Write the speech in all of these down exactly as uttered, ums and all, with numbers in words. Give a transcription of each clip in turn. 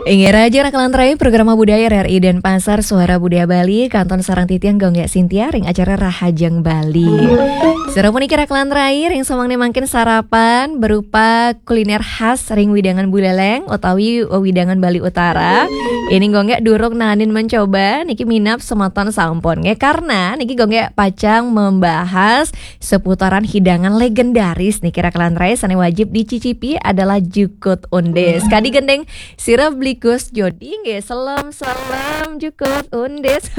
Inggih, Raja Rakelan Rai, Program Budaya R R I Denpasar, Suara Budaya Bali, kantun sareng titiang Gung Gek Sintia ring acara Rahajeng Bali. Sira puniki Rakelan Rai, ring samangke mangkin sarapan berupa kuliner khas ring wewidangan Buleleng utawi wewidangan Bali Utara. Ini Gung Gek durung naenin mencoba, niki minab semeton sampun nggih, karena niki Gung Gek pacang membahas seputaran hidangan legendaris niki Rakelan Rai, sane wajib dicicipi adalah jukut undis. Kadi gendeng sira Blikus Jodi nggih, selem-selem jukut undis.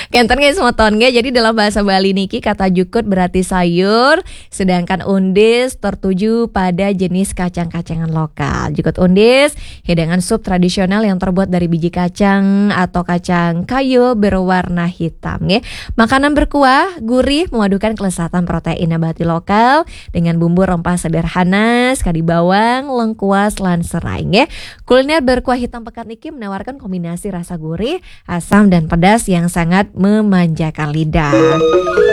Kenten nggih semeton nggih. Jadi dalam bahasa Bali niki kata jukut berarti sayur, sedangkan undis tertuju pada jenis kacang-kacangan lokal. Jukut undis, hidangan sup tradisional yang terbuat dari biji kacang atau kacang kayo berwarna hitam nggih. Makanan berkuah, gurih, memadukan kelezatan protein nabati lokal dengan bumbu rempah sederhana, sekadi bawang, lengkuas, lan serai nggih. Kuliner berkuah hitam pekat niki menawarkan kombinasi rasa gurih, asam, dan pedas yang sangat memanjakan lidah.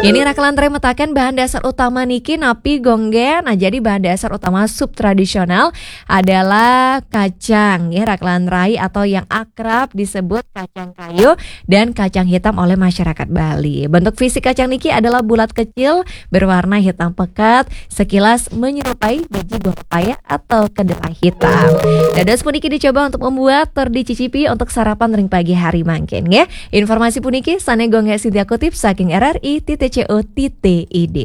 Ini Rakelan Rai mataken bahan dasar utama niki napi Gung Gek. Nah, jadi bahan dasar utama sup tradisional adalah kacang ya Rakelan Rai, atau yang akrab disebut kacang kayo dan kacang hitam oleh masyarakat Bali. Bentuk fisik kacang niki adalah bulat kecil, berwarna hitam pekat, sekilas menyerupai biji buah pepaya atau kedelai hitam. Dados puniki dicoba untuk membuat tur dicicipi untuk sarapan ring pagi hari mangkin nggih. Informasi puniki sane Gung Gek Sintia kutip saking R R I titik C O titik I D.